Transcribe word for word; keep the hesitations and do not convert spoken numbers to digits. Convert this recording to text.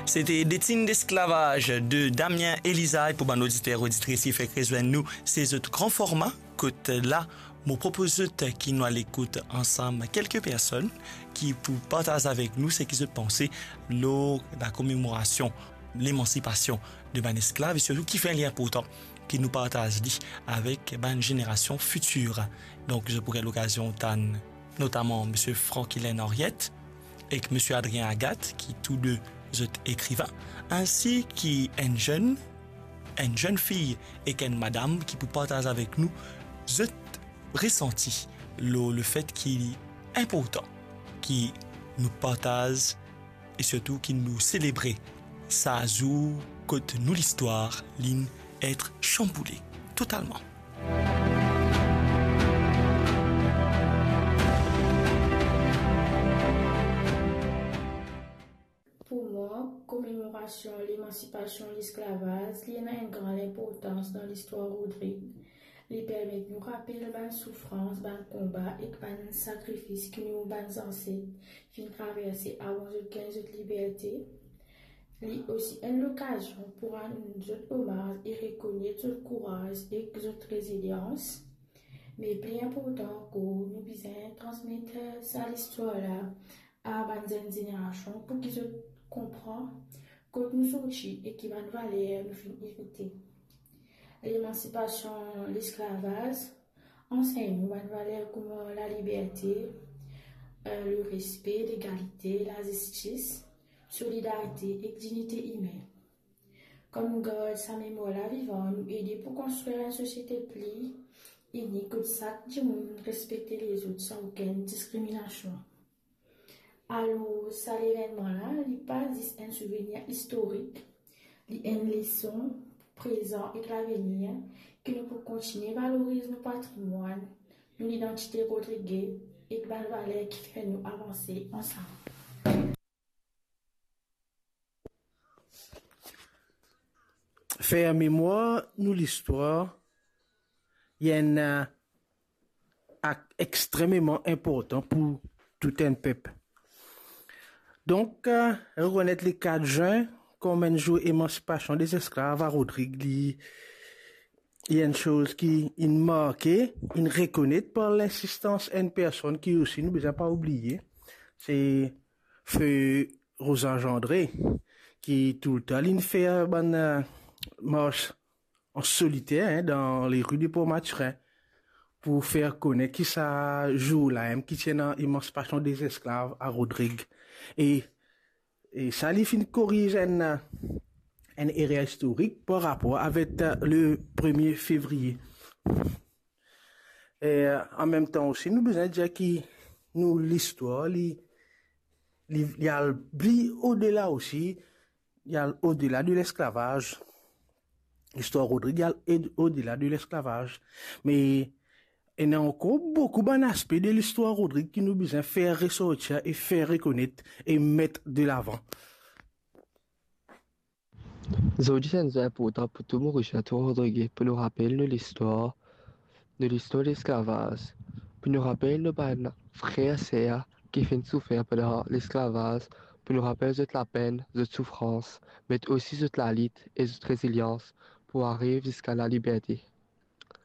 Sete Detin desklavaz de Damien Elizard. Pou bann oditer, oditris ki fek rezwenn nou, se zot gran forma, kot la, mo propoz zot ki nou al ekout ansam kelke personn ki pou partaz avek nou seki zot panse lor lakomemorasion lemansipasion de bann esklav, e sirtou kifer li inportan ki nou partaz li avek bann zenerasion fitir. Donk, zot pou gagn lokazion tann notaman Misie Franquilin Henriette ek Misie Adrien Agathe, ki tou de zot ekriven, ainsi ki enn zenn, enn zenn fi ek enn madam ki pou partaz avek nou zot resanti lor lefet ki li inportan ki nou partaz e sirtou ki nou selebre sa zour kot nou listwar linn et chanboule totalman. Pou mwa, komemorasion lemansipasion lesklavaz, li ena enn gran inportans dan listwar Rodrig. Li permet nou rapel bann soufrans, bann konba ek bann sakrifis ki nou bann zanset finn traverse avan zot gagn zot liberte. Li osi enn lokazion pou rann zot omaz e rekonet zot kouraz ek zot rezilians. Me pli inportan ankor, nou bizin transmet sa listwar la a bann zenn zenerasion pou ki zot konpran kot nou sorti e ki bann valer nou finn erite. Lemansipasion lesklavaz ansegn nou bann valer kouma laliberte, eh, lerespe, legalite, lazistis, solidarite ek dignite imin. Kan nou gard sa memwar la vivan, nou ede pou konstrir enn sosiete pli ini kot sak dimoun respekte lezot san okenn diskriminasion. Alor, sa levennman la, li pa zis enn souvenir istorik, li enn leson pou prezan ek lavenir, ki nou pou kontigne valoriz nou patrimwann, nou lidantite rodrige ek bann valer ki fer nou avanse ansam. Fer memwar nou listwar, li enn, eh, ak extrememan inportan pou tou enn pep. Donk, eh, rekonet le kat zin kom enn zour emansipasion dezesklav a Rodrig, li, li enn soz ki inn marke, inn rekonet par linsistans enn personn ki osi nou bizin pa oubliye, se Fe Rosange André, ki toultan linn fer bann, eh, mars an soliter, hein, dan le ri de Port Mathurin, pou fer konet ki sa zour la mem ki ti ena emansipasion dezesklav a Rodrig. E, e sa li finn koriz enn, enn erer istorik par rapor avek, eh, le premie fevriye. E, an mem tan osi, nou bizin dir ki nou listwar, li, li, li al pli odela osi, li al odela de lesklavaz. Listwar Rodrig, li al ed-, odela de lesklavaz. Me ena ankor boukou bann aspe de listwar Rodrig ki nou bizin fer resortir e fer rekonet e met de lavan. Zordi se enn zour inportan pou tou Morisien, tou Rodrige, pou nou rapel nou listwar, nou listwar lesklavaz, pou nou rapel nou bann frer, ser ki finn soufer pandan lesklavaz, pou nou rapel zot lapenn, zot soufrans, me osi zot lalit e zot rezilyans pou ariv ziska laliberte.